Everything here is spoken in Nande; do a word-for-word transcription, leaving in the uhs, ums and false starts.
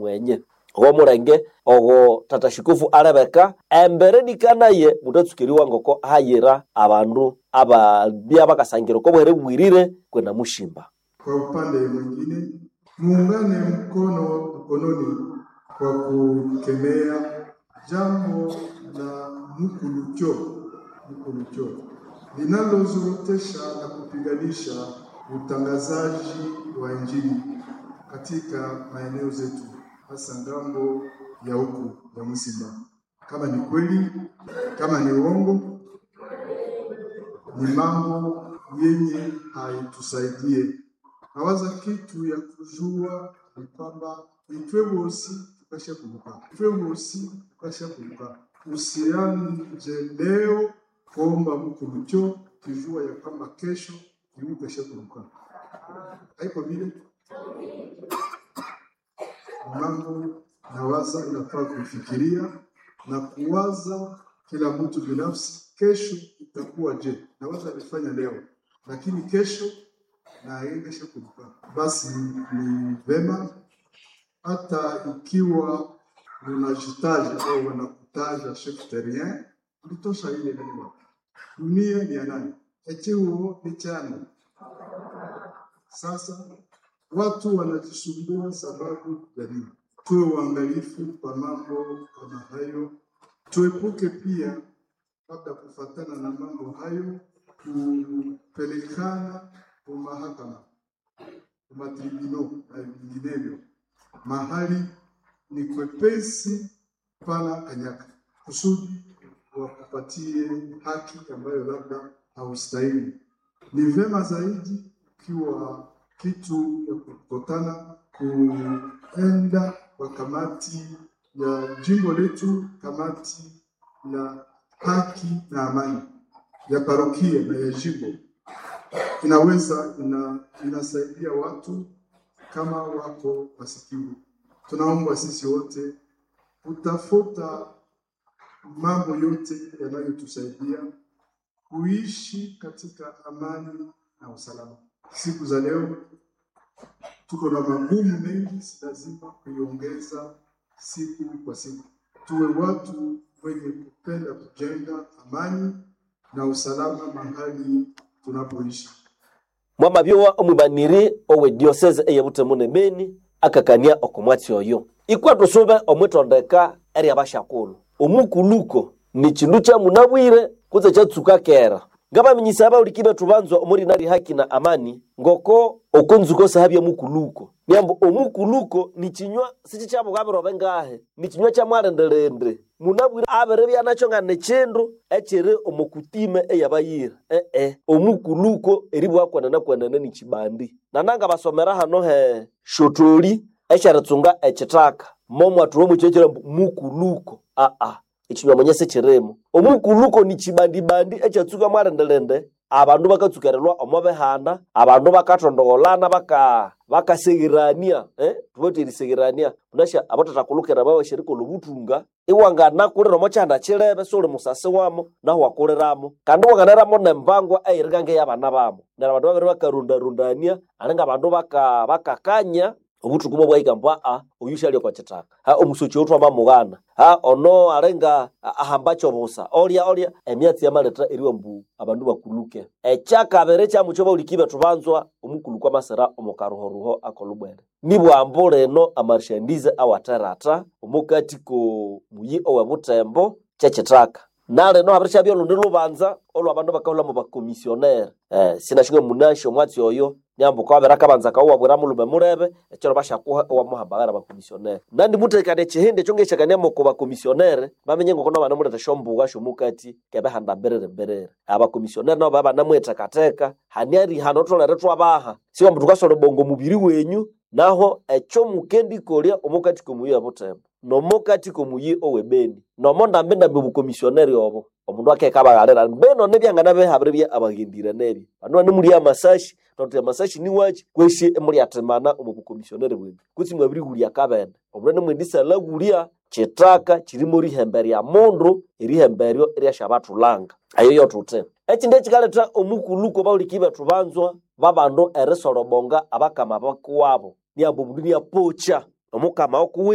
mwenye ogo mulenge ogo tata shikofu alebeka embere nikanaye mutatsuka ngoko hayira abandu ababya bakasangira oko bwere bwirire kwena mushimba. Kwa upande mwingine, muungane mkono mkononi kwa kukemea jambo la mukulucho mukulucho linalozorotesha na kupiganisha utangazaji wa Injili katika maeneo zetu, hasa ngambo ya huku ya Musimba. Kama ni kweli, kama ni uongo, ni mambo yenye haitusaidie. Nawaza kitu ya kujua ni kwamba itwe bosi tukasha kuruka, itwe bosi tukasha kuruka. Usianje leo kuomba mukulucho kijua ya kwamba kesho iukasha kuruka, haiko vile mambo nawaza inafaa kuifikiria na kuwaza kila mtu binafsi, kesho itakuwa je? Nawaza alifanya leo, lakini kesho naengesha kuruka. Basi ni vema hata ikiwa unajitaja au wanakutaja chef terrien, ulitosha ile neno. Dunia ni ya nani? Echiuo ni chani. Sasa watu wanajisumbua sababu ya nini? Tuwe waangalifu kwa mambo kama hayo, tuepuke pia labda kufatana na mambo hayo kupelekana kwa mahakama, kwa matribunal na vinginevyo, mahali ni kwepesi pana kanyaka, kusudi wakupatie haki ambayo labda haustahili. Ni vema zaidi ukiwa kitu ya kukutana kuenda kwa kamati ya jimbo letu, kamati ya haki na amani ya parokia na ya jimbo, inaweza ina, inasaidia watu kama wako wasikivu. Tunaomba sisi wote kutafuta mambo yote yanayotusaidia kuishi katika amani na usalama. Siku za leo tuko na magumu mengi, si lazima kuiongeza siku kwa siku. Tuwe watu wenye kupenda kujenga amani na usalama mahali tunapoishi. Mwamabyowa omwibaniri owe diocese eyebutemu ne Beni akakania okomwatsi oyo ikwa tusube omwitondeka erya bashakulu omukuluko ni chindu kya munabwire kutse kyatsuka kera ngabaminyisa abahuliki bethu banzwa omurina ri haki na amani ngoko okonzuko sahabya mukuluko niambu omukuluko ni chinywa sichikyabughabira ngahe ni chinywa kya mwalendelende munabwire abere byanakyo nga ni chindu ekiri omokutime eyabayira ee omukuluko eribwa kwenene ni chibandi nananga basomera hano he shotoli ekyeritsunga ekithaka momwathuwa omukyekera mbu mukuluko aa ekinywa mwenye sikirimo omukuluko ni kibandibandi ekyatsuka mwalendelende abandu bakatsukerilwa omo bihanda abandu bakathondogholana baka bakaseghirania eh? Thubathi eriseghirania munasha abathathakulukira babashirikolha obuthunga iwanganakulira omo kyihanda kyilebe siwuli musasi wamo nahu wakuliramo kandi wanganaramo nembangwa eyiri ngeyabana bamo neryo abandu babiri bakarundarundania alinga abandu baka bakakanya obuthuku bwabwahika mbu aa oyu syali okwa kithaka ha omusoki oyu twamamughana ha ono alinga ahamba kyobusa olya olya emyatsi yamaletha eriwa mbu abandu bakuluke ekyakabiri kyamukyo bahuliki bethu banzwa omukulu kwamasira omu karuhoruho akolubwere nibwambu lino amarshandize awatherata omukati ko muyi owe Butembo kyekithaka nalino habirishabya olundi lubanza olwabandu bakahulha bakomisionere eh, sinashinga munasho omwatsi oyo nyambu kwabera kabanza kawabwira mulume mulebe ekiro bashakuha owamuhambaghara bakomisionere nandi mutekane ekihindi ekyo ngeshakania moko bakomisionere bamenye ngoko nabanamuletha shombuga shomukati kebehanda mbiriri mbiriri abakomisionere nabo babanamwethekatheka hani erihano thulere thwabaha siwa mbu thukasola bongo mubiri wenyu naho ekyo mukendikolya omukati komuyi obutembo nomukati komuyi owebeni nomo ndambi ndambi obukomisioneri obo omundu akeka baghalira mbeno nebyangana behabire bya abaghendire nebyo bandu banemulya amasashi toti amasashi niwachi kwesi emulyathimana omu bukomisioneri bwenyu kutsi mwabirigulya kabene omundu nemwendisalagulya kithaka kirimo erihembe rya mundu erihembe eryo eryasyabathulanga eyo yothuthi ekindi ekikaletha omukuluko bahuliki bethu banzwa babandu erisolobonga abakama bakuwabo niambu omundu niapocha omukama okuwiwe.